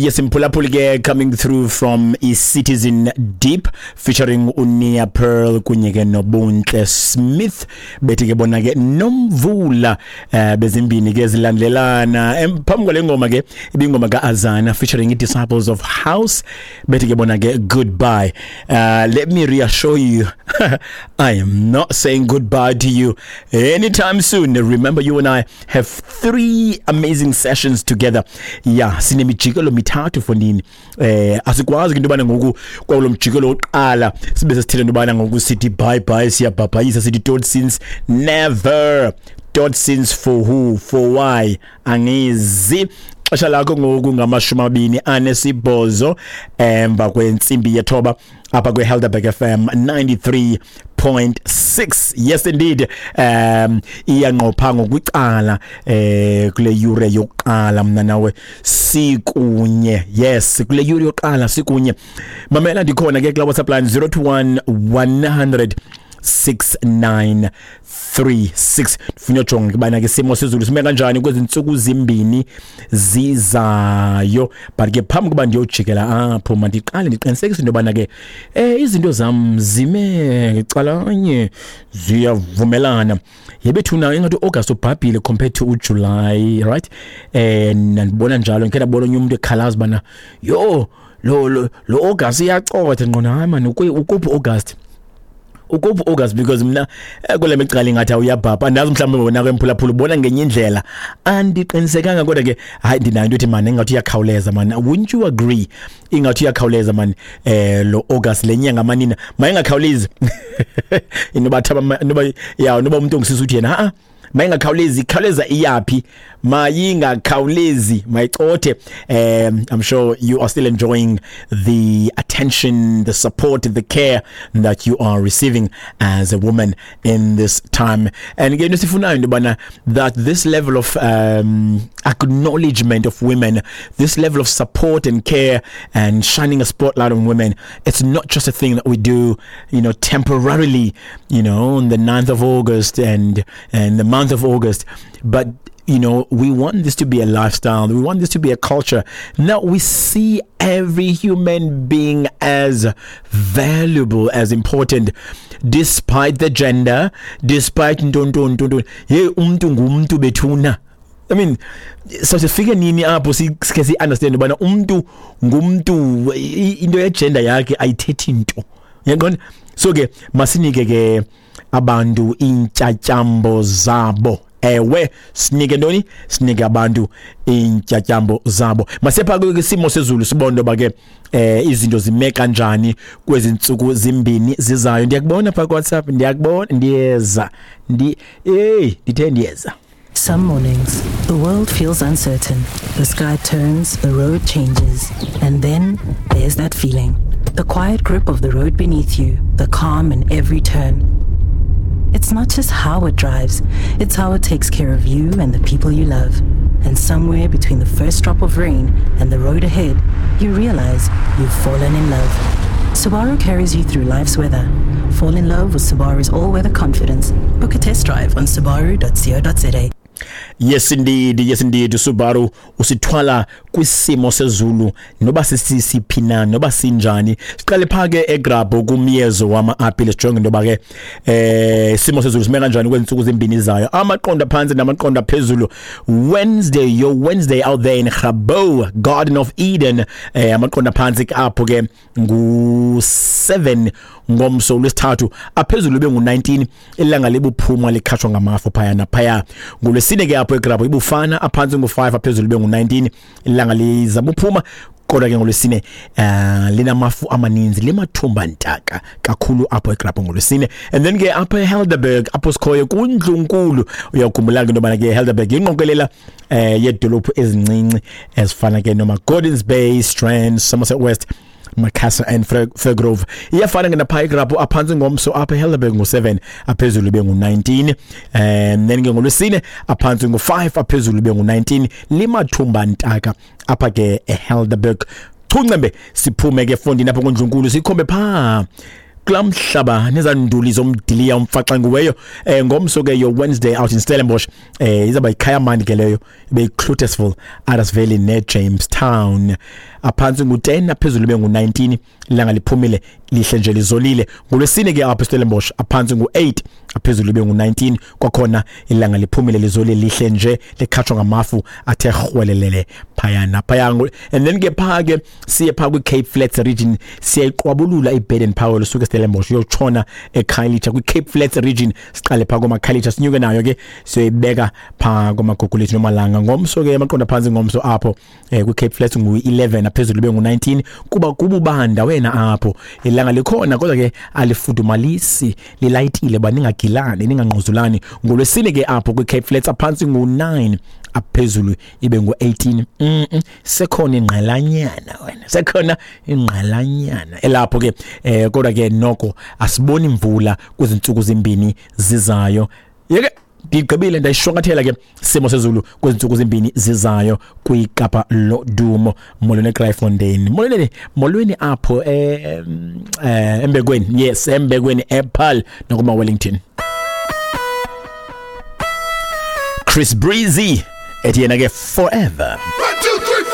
Yes, mphulaphuli ke, coming through from i-Citizen Deep featuring uNia Pearl kunye ke noBuntle Smith, bethi ke bona ke Nomvula. Bezimbini ke zilandelana. Phambi kwale ngoma ke ibingoma kaAzana featuring i-Disciples of House, bethi ke bona ke Goodbye. Let me reassure you, I am not saying goodbye to you anytime soon. Remember, you and I have three amazing sessions together. Yeah, sinemijikelo mithathu fondini. Asikwazi into yobana ngoku kwawulo mjikelo wokuqala sibe sesithetha into yobana ngoku sithi bye bye, siyabhabhayisa, sithi totsiens. Never totsiens. For who? For why? Angizi. Xesha lakho ngoku ngama-28 emva kwentsimbi yethoba apha kwe-Helderberg FM 93.6. Yes indeed, iyanqopha ngokwicala kule yure yokuqala mna nawe sikunye. Yes, kule yure yokuqala sikunye. Mamela, ndikhona ke kula WhatsApp line 021 100 6936. Ndifuna ujonga kubana ke simo sezulu sime kanjani kwezi ntsuku zimbini zizayo, but ke phambi kuba ndiyojikela apho, mandiqale ndiqinisekise into yobana ke izinto zam zime calanye, ziyavumelana. Yebethuna, ingathi uAugust ubhabhile compared to uJuly, right? Ndibona njalo, ngikhe ndabona onye umuntu ekhalaza bana yo lo August iyacotha ngqona. Hayi man, ukuphi August? Ukuphi August? Because mina kule micala ingathi awuyabhabha. Andazi, mhlawumbe wena ke mphulaphula ubona ngenye indlela, andiqinisekanga, kodwa ke hayi, ndinayo into ethi man ingathi uyakhawuleza man. Wouldn't you agree? Ingathi uyakhawuleza man lo August, le nyanga manina mayingakhawulezi. Inoba thaba noba ya noba umuntu ongisisa uthi yena ha mayingakhawulezi, ikhawuleza iyaphi? Mayingakhawulezi, mayicothe. I'm sure you are still enjoying the attention, the support, the care that you are receiving as a woman in this time. And again, sifunayo into yobana that this level of acknowledgement of women, this level of support and care and shining a spotlight on women, it's not just a thing that we do temporarily on the 9th of August and the month of August, but we want this to be a lifestyle. We want this to be a culture. Now we see every human being as valuable, as important, despite the gender, despite ntonton. Hey, umntu ngumntu bethuna. I mean, so sifike nini apho sike si understand ubana umntu ngumntu, into yegender yakhe ayithethi nto? Uyaqonda? So ke masinike ke abantu intyatyambo zabo. Ewe, sinike ntoni? Sinike abantu intyatyambo zabo. Masepha ke isimo sezulu, sibone ba ke izinto zime kanjani kwezi ntsuku zimbini zizayo. Ndiyakubona pha ku WhatsApp, ndiyakubona, ndiyeza, ndi hey, ndithe ndiyeza. Some mornings, the world feels uncertain. The sky turns, the road changes, and then there's that feeling. The quiet grip of the road beneath you, the calm in every turn. It's not just how it drives, it's how it takes care of you and the people you love. And somewhere between the first drop of rain and the road ahead, you realize you've fallen in love. Subaru carries you through life's weather. Fall in love with Subaru's all-weather confidence. Book a test drive on subaru.co.za. Yes indeed, yes indeed, Subaru usithwala kwisimo sezulu noba sisiphi na, noba sinjani. Siqale pha ke eGrabho kumyezo wama-apile, sijonge into yoba ke isimo sezulu sime kanjani kwezi zimbini zayo, amaqondo phantsi namaqondo phezulu. Wednesday, your Wednesday out there in Grabouw, Garden of Eden, amaqondo phantsi apho ke ngu-7 ngomso lwesithathu, aphezulu bengu-19. Ilanga libuphuma likhatshwa ngamafu phaya naphaya. Ngolwesine ke apho eGrabho ibufana, aphantsi ngu-5, aphezulu bengu-19. Ilanga lizabuphuma, kodwa ke ngolwesine linamafu amaninzi, limathumba ntaka kakhulu apho eGrabho ngolwesine. And then ke apha eHelderberg, apho sikhoyo kundlunkulu, uyakhumbula ke into yobana ke Helderberg ingqokelela yeedolophu ezincinci ezifana ke noma Gordons Bay, Strand, Somerset West, Macassar and Fairgrove. Iyafana ke napha eGrabho, aphantsi ngomso apha eHelderberg ngu-7, aphezulu bengu-19. And then ke ngolwesine aphantsi ngu-5, aphezulu bengu-19, limathumba ntaka apha ke eHelderberg. Chuncembe, siphume ke fondini apho kundlunkulu, sikhombe phaa. Kulaa mhlaba nezanduli zomdiliya umfaxangiweyo. Ngomso ke, your Wednesday out in Stellenbosch, izawuba yiKayamandi ke leyo, ibe yiCloetesville, Idas Valley neJamestown. Aphantsi ngu-10, aphezulu ibe ngu-19, ilanga liphumile, lihle nje, lizolile. Ngolwesine ke apho eStellenbosch, aphantsi ngu-8, aphezulu ibe ngu-19, kwakhona ilanga liphumile, lizolile, lihle nje, likhatshwa ngamafu athe rhwelelele phayana phaya. And then ke phaa ke siye phaa kwi-Cape Flats region, siyayiqwabulula iBaden Powell usuke eStellenbosch uyotshona eKhayelitsha kwi-Cape Flats region. Siqale phaa komaKhayelitsha, sinyuke nayo ke, siyoyibeka phaa komaGugulethu noMalanga. Ngomso ke amaqondo aphantsi ngomso apho kwi-Cape Flats ngu-11, aphezulu ibe ngu-19, kuba kububanda wena apho. Ilanga likhona kodwa ke alifudumalisi, lilayitile ba ningagilani, ningangquzulani. Ngolwesine ke apho kwi-Cape Flats, aphantsi ngu-9, aphezulu ibe ngu-18. Sekhona ingqalanyana wena, sekhona ingqalanyana elapho ke, kodwa ke noko asiboni imvula kwezi ntsuku zimbini zizayo. Yeke ndigqibile, ndayishwankathela ke simo sezulu kwezi ntsuku zimbini zizayo kwiKapa Lodumo. Molweni eKraaifontein, molweni, molweni apho eMbekweni, yes, eMbekweni, ePaarl nakuma Wellington. Chris Breezy ethi yena ke "Forever". 1, 2.